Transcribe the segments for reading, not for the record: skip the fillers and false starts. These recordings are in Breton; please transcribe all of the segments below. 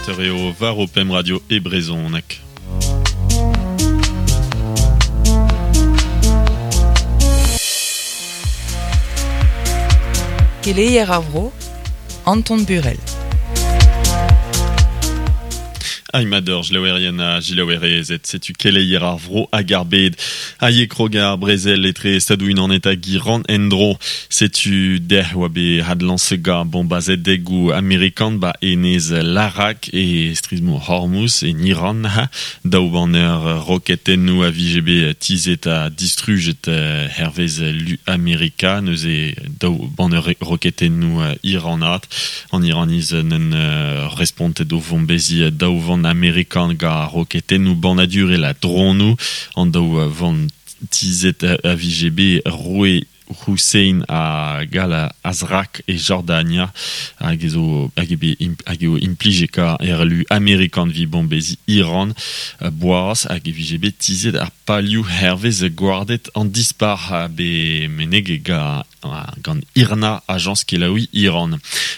20 eo war ho pemp radio e brezhoneg. Keleier ar vro, Anton Burel. Aimador, jlaouerien ha jilaouerezed, setu keleier ar vro hag ar bed. Aie krog ar brezel etre Stadoù-Unanet hag Iran en-dro. Setu dec'h oa bet adlañset gant bombazedegoù amerikan ba enez Larak e strizh-mor Hormuz en Iran. Daou banner roketennoù a vije bet tizhet ha distrujet hervez lu Amerika. Neuze daou banner roketennoù iranat. An Iraniz n'en respontet o vombeziñ daou vann amerikan gant roketennoù bannadurel ha dronoù. An daou vann tizhet a vije bet roue Hussein hag Al Azraq e Jordania hag zo hag eo bet hag eo implijekañ er lu amerikan evit bombeziñ Iran boaz hag e vije bet tizhet ar palioù hervez gwarded an dispac'h bet meneget gant Gant IRNA, ajañs kelaouiñ Iran.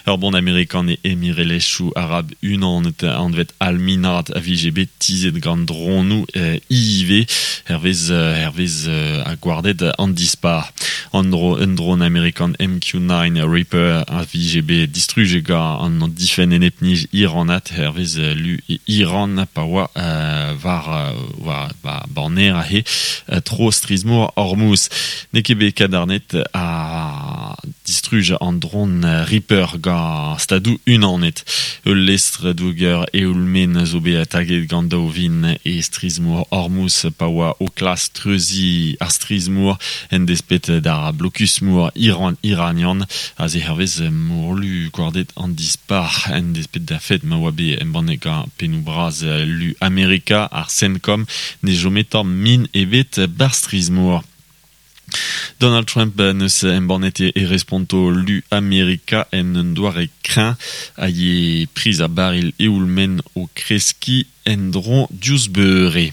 Ur bon amerikan e Emirelezhioù Arab Unanet anvet Al-Minhad a vije bet tizhet gant dronoù ivez, hervez hervez ha gwarded an dispac'h. An dro un dron amerikan MQ-9 Reaper a vije bet distrujet gant an difenn enep-nij iranat, hervez lu Iran pa oa war war banner aze tro strizh-mor Hormuz. N'eo ket bet kadarnet ha distruj an dron Reaper gant Stadoù Unanet. Ul lestr douger eoul-maen zo bet taget gant daou vin e strizh-mor Hormuz pa oa o klask treuziñ ar strizh-mor en desped d'ar blokus-mor iranian. Aze hervez morlu gwarded an dispac'h en desped da fed ma oa bet embannet gant pennoù bras lu Amerika, ar CENTCOM, ne chome tamm min ebet 'barzh strizh-mor. Donald Trump n'eus embannet e responto lu Amerika en un doare kreñv hag e priz ar baril eoul-maen o kreskiñ en-dro diouzh beure.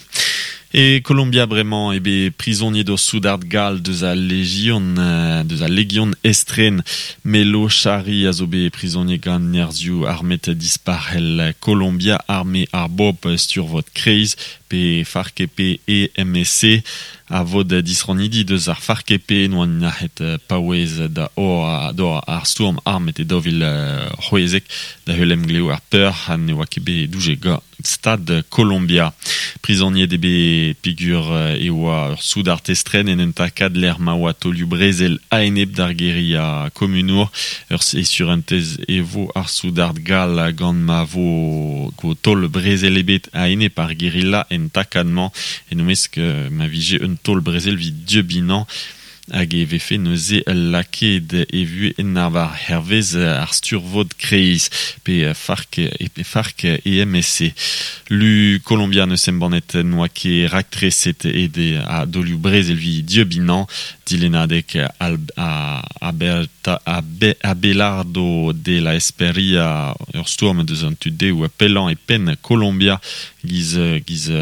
E Kolombia bremañ eo bet prizoniet ur soudard gall deus al lejion deus al legion estren. Melo Chari a zo bet prizoniet gant nerzhioù armet dispac'hel Kolombia, arme ar bobl sturvod kreiz pe FARC-EP EMSC a vod disrannidi deus ar FARC-EP n'oa nac'het paouez da d'ober ar stourm armet e 2016 da heul emglev ar peur ha ne oa ket bet doujet gant Stad Kolombia. Prizoniet eo bet peogwir e oa ur soudard estren en un takad lec'h ma oa taolioù-brezel a-enep d'ar guerilla komunour. Ur e surentez e vo ar soudard gall gant ma vo taol-brezel ebet a-enep ar guerilla en takad-mañ, en o mesk ma vije un taol-brezel evit dieubinañ hag e vefe neuze lakaet e vuhez en arvar hervez ar sturvod kreiz pe FARC FARC EMSC. Lu Kolombia n'eus embannet n'oa ket raktreset e a daolioù brezel evit dieubinañ Dilennadeg Abelardo de la Esperia, ur stourm deus an tu dehoù pellañ e penn Kolombia, giz giz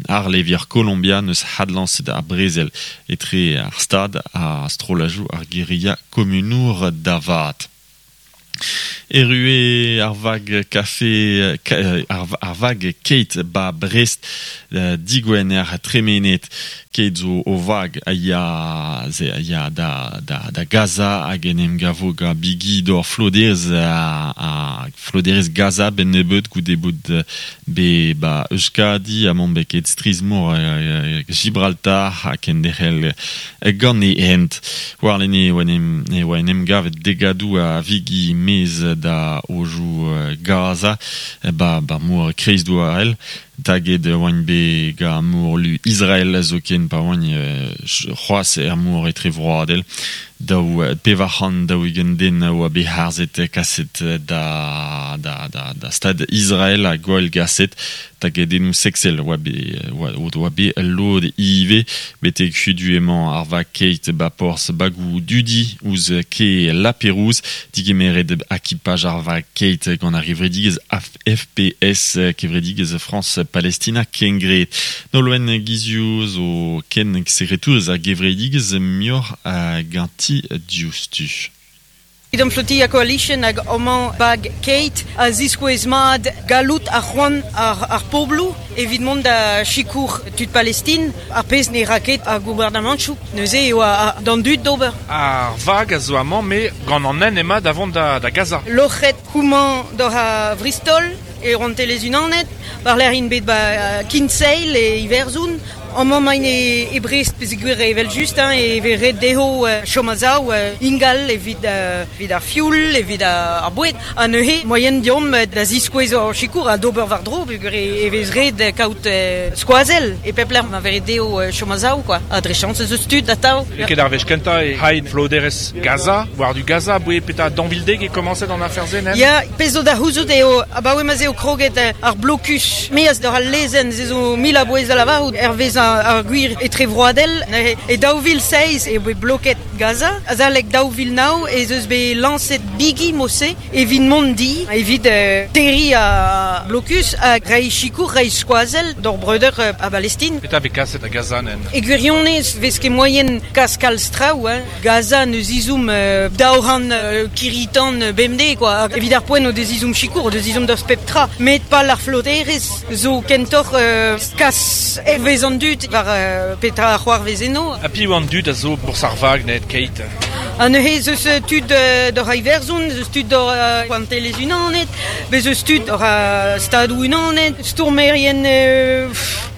arlevier Kolombia n'eus adlañset ar brezel etre ar Stad ha strollajoù ar guerilla komunour da vat. Erru eo ar vag kafe ar vag Keit 'ba Brest digwener tremenet. Keit zo o vag a ya a ya da da Gaza hag en em gavo gant bigi d'hor floderezh ha floderezh Gaza 'benn nebeut goude bout bet 'ba Euskadi ha mont bet strizh-mor Gibraltar ha kenderc'hel Gant e hent. Warlene e oa en em gavet degadoù a vigi maez da aojoù Gaza, 'ba 'ba mor Kreizdouarel. Taget e oant bet gant morlu Israel zoken pa oant c'hoazh er mor etrevroadel. Daou 440 den a oa bet harzet kaset da da da da stad Israel ha gwallgaset. Tagedennoù seksel oa bet o doa bet lod ivez. Betek hudu emañ ar vag keit 'ba porzh bagoù dudi ouzh kae La Pérouse. Digemeret akipaj ar vag keit gant ar gevredigezh FPS, kevredigezh Frañs Palestina Kengred. Nolwenn Gizioù zo ken sekretourez ar gevredigezh muioc'h ganti diouzhtu. Freedom Flotilla Coalition hag amañ bag Keit a ziskouez mat galloud ar c'hoant ar pobloù evit mont da sikour tud Palestin, ar pezh ne ra ket ar gouarnamantoù. Neuze eo d'an dud d'ober. Ar vag a zo amañ met gant an hent emañ da vont da Gaza. Loc'het houmañ doc'h a Vristol e Rouantelezh-Unanet, war-lerc'h int bet ba Kinsale e Iwerzhon. Amañ emaint e Brest peogwir evel-just e vez ret dezho chom a-sav ingal evit evit ar fioul, evit ar boued. Ha neuze moaien deomp da ziskouez hor sikour ha d'ober war-dro peogwir e vez ret kaout skoazell e pep lec'h ma vez ret dezho chom a-sav quoi. Ha dre chañs ez eus tud atav. N'eo ket ar wech kentañ e c'hain floderezh Gaza, war-du Gaza, aboe petra daou vil dek eo komañset an afer-se, nen? Ya, pezh zo da c'houzout eo abaoe ma'z eo kroget ar blokus maez doc'h al lezenn, se zo mil a bouez da lavarout hervez ar gwir etrevroadel. Neuze e 2007 eo bet bloket Gaza. Azalek 2009 ez eus bet lañset bigi mod-se evit mont di, evit terriñ ar blokus ha reiñ sikour, reiñ skoazell d'hor breudeur a Balestin. Petra vez kaset da Gaza, nen? E gwirionez 'vez ket moaien kas kalz traoù, hein. Gaza n'eus ezhomm 200 kirri-tan bemdez, quoi. Evit ar poent o deus ezhomm sikour, o deus ezhomm deus pep tra. Met pal ar floderezh zo kentoc'h kas hervez an dud war petra a c'hoarvez eno. Ha piv an dud a zo bourzh ar vag net, Keit? Ha neuze ez eus tud doc'h Iwerzhon, ez eus tud doc'h Rouantelezh-Unanet, bez eus tud doc'h Stadoù-Unanet, stourmerien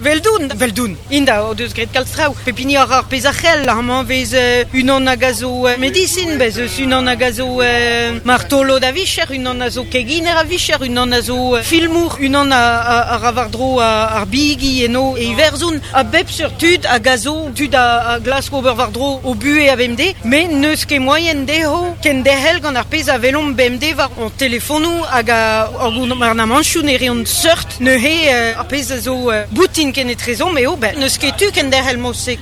'veldoun, 'veldoun. Int o deus graet kalz traoù. Pep hini a ra ar pezh a c'hell. Amañ 'vez unan hag a zo medisin, bez eus unan hag a zo martolod a vicher, unan a zo keginer a vicher, unan a zo filmour, unan a ra war-dro ar bigi eno e Iwerzhon. A bep seurt tud hag a zo tud a glask ober war-dro o buhez a-bemdez, met n'eus ket moaien dezho kenderc'hel gant ar pezh a welomp bemdez war hon telefonoù hag ar gouarnamantoù ne reont seurt. Neuze ar pezh a zo boutin kenetrezomp eo ben n'eus ket tu kenderc'hel mod-se.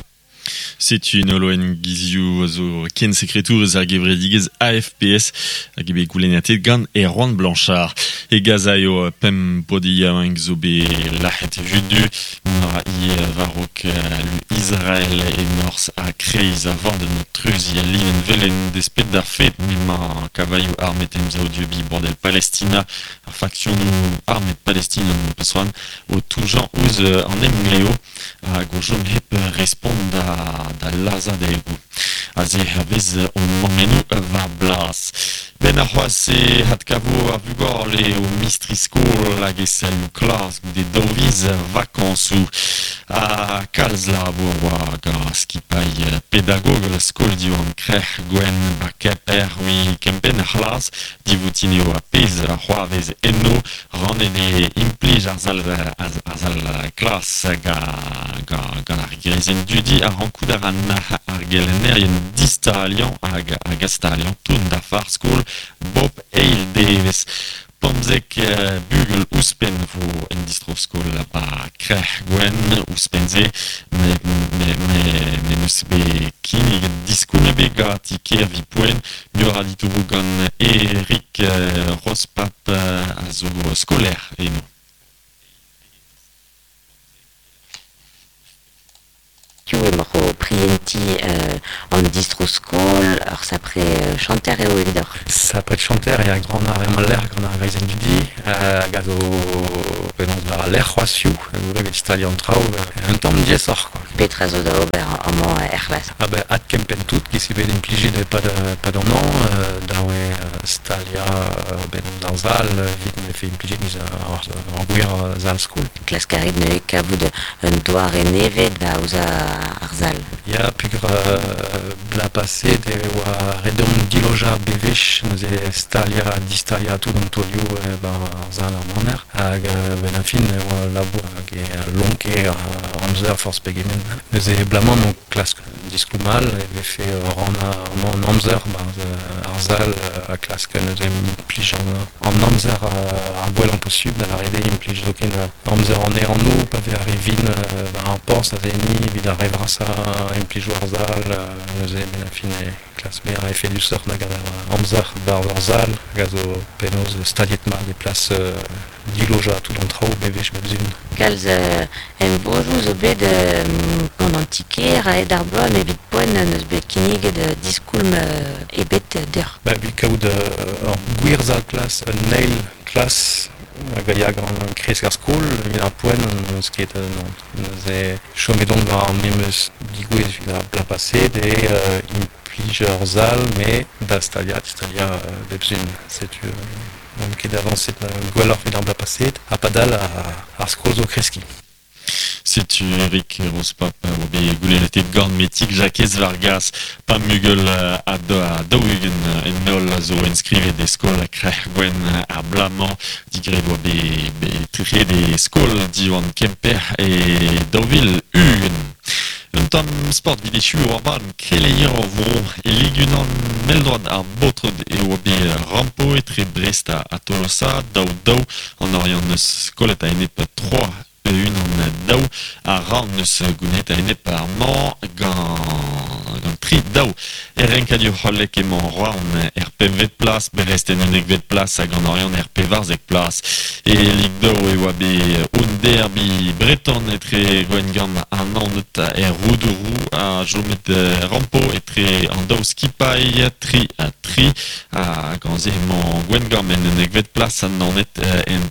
Setu Nolwenn Guizioù a zo kensekretour eus ar gevredigezh AFPS hag eo bet goulennatet gant Erwan Blanchard. E Gaza eo pemp paotr yaouank zo bet lac'het hudu. Mont a ra ivez war-raok lu Israel e norzh ha kreiz a-vord treuziñ al livenn velen despet d'ar fed m'emañ kavailhoù armet emsav dieubiñ broadel Palestina ar faksionoù armet palestinian peus c'hoant o toujañ ouzh an emglev hag o chom hep respont da lazhadegoù. Aze hervez hon mammennoù war blas. Ben ar c'hoazh e adkavo ar vugale o mistri-skol hag e salioù klas goude daou viz vakañsoù. Ha kalz labour oa gant skipailh pedagogel skol Diwan Krec'h Gwenn ba Kemper evit kempenn ar c'hlas. Divoutin eo ar pezh a c'hoarvez eno rannet eo implij ar sal ar sal klas gant ar greizenn dudi a rankout a ra nac'h ar gelennerien distaliañ hag astaliañ tout dafar skol bep eil devezh. 15 bugel ouzhpenn vo en distro-skol ba Krec'h Gwenn ouzhpenn-se me n'eus bet kinniget diskoulm ebet ganti kêr evit poent muioc'h a ditouroù gant Eric Rospap a zo skolaer eno. Piv emaoc'h o prientiñ an distro-skol? Ur sapre chanter eo evidoc'h. Sapre chanter eo gant ar lec'h, gant ar greizenn dudi, hag a zo penaos war al lec'h c'hoazh hiziv, evit staliañ an traoù, un tamm diaesoc'h quoi. Petra zo da ober amañ er c'hlas? Ah ben adkempenn tout giz eo bet implijet e-pad an hañv, dav eo staliañ ben d'ar sal evit ma vefe implijet giz ar gwir sal-skol. Klask a rit neuze kavout un doare nevez da aozañ ar sal. Ya, peogwir bloaz paset e oa ret deomp dilojañ bewech, neuze staliañ, distaliañ tout an taolioù 'ba ar sal ar maner. Hag benn ar fin e oa labour hag e lonke amzer forzh pegement. Neuze bloaz-mañ emañ klask diskoulm all e vefe rannañ an amzer 'barzh ar sal ha klask neuze implij an amzer ar gwellañ posubl da lâret eo implij zoken amzer an ehanoù pa vez ar re vin war ar porzh aze-ni evit ar re vrasañ implijoù ar sal neuze benn ar fin e klask bezañ efedusoc'h da gant amzer 'barzh ar sal hag a zo penaos staliet mat e plas dilojañ tout an traoù bewech bep sizhun. Kalz emvodoù zo bet gant an ti-kêr a-hed ar bloaz met evit poent n'eus bet kinniget diskoulm ebet deoc'h. Ba, evit kaout ur gwir sal klas, un eil klas hag a ya gant kresk ar skol, evit ar poent n'eus ket non. Neuze chomet on war ar memes digouez evit ar bloaz paset e implij ur sal met da staliañ, staliañ bep sizhun. Setu n'omp ket avañset gwelloc'h evit ar bloaz paset ha padal ar skol zo kreskiñ. Setu Eric Rospap oa bet goulennet gant Metig Jakez Vargas pa mugel a daou-ugent en holl a zo enskrivet e skol Krec'h Gwenn ar bloaz-mañ digred oa bet trec'het e skol Diwan Kemper e 2020. Un tamm sport evit echu war badenn keleier ar vro e Lig unan mell-droad ar baotred e oa bet rampo etre Brest ha Tolosa daou-daou an Oriant neus kollet a-enep 3 unan daou a ra neus gounit a-enep ar mañ gant tri daou. Er renkadur hollek emañ Roazhon er pempvet plas, Brest en unnekvet plas hag an Oriant er pevarzek plas. E Lig daou e oa bet un derby breton etre Gwengamp ha Naoned er Roudourou ha chomet rampo etre an daou skipailh tri ha tri ha gant se emañ Gwengamp en unnekvet plas ha Naoned en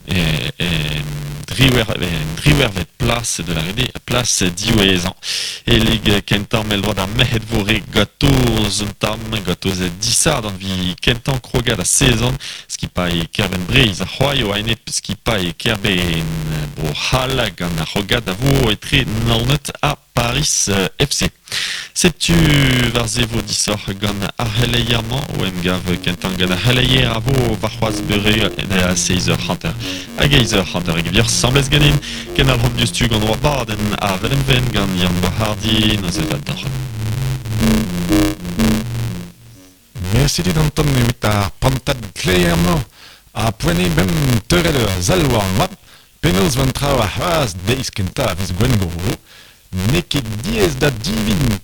driwervet plas de la rede plas diwezhañ. E lig kentañ mell-droad ar merc'hed vo re gatoz un tamm, gatoz disadorn vi kentañ krogad a sezon, skipailh Kerbenn Breizh a c'hoaio a-enep skipailh Kerbenn Bro-C'hall gant ar c'hrogad a vo etre Naoned ha Paris FC. Setu war se vo disoc'h gant ar c'heleier-mañ o emgav kentañ gant ar c'heleier a vo warc'hoazh beure da seizh eur hanter hag eizh eur hanter hag e vioc'h asambles ganin kendalc'homp diouzhtu gant hor abadenn Avel em Venn gant Yann Boishardy neuze da deoc'h. Mersi dit Anton evit ar prantad kleier-mañ ha poent eo bemp teurel ur sell war an oabl penaos 'vo an traoù ar c'hoazh deiz kentañ a viz Gwengolo. N'eo ket diaes da divin.